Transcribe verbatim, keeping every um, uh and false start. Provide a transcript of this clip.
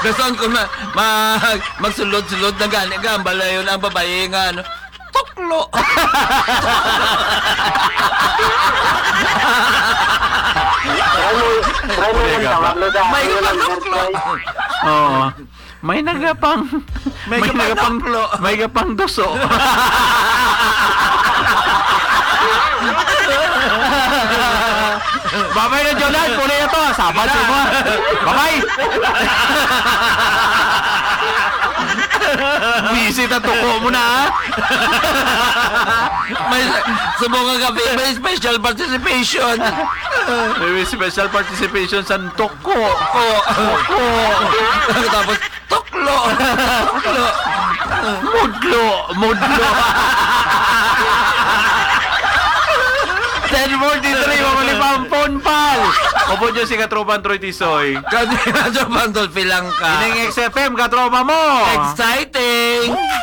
Dason ko ma, ma, magsulod-sulod na gani ka, ang balayon ang babae nga, ano, tuklo. Try mo, try mo Kuya yung Gapa. Tawag, Loda. May Ano lang, kapatlo. Bertoy? Oo. May nagapang, May may nagapang, kapatlo. May gapang duso. Babay na, Jonad. Puli na to. Sabat sa imo. Babay. Busy ta, tuko mo na, ha? May, subong nga gabi, may special participation. May special participation sa tuko. Tuko. Tuko. Tapos, tuklo. Tuklo. Mudlo. Mudlo. Ten forty-three, mga lipang phone pal. Upod nyo si Katropan Troy Tisoy. Kani na sa Pandol, pilang ka. Ining X F M, katropa mo. Excited.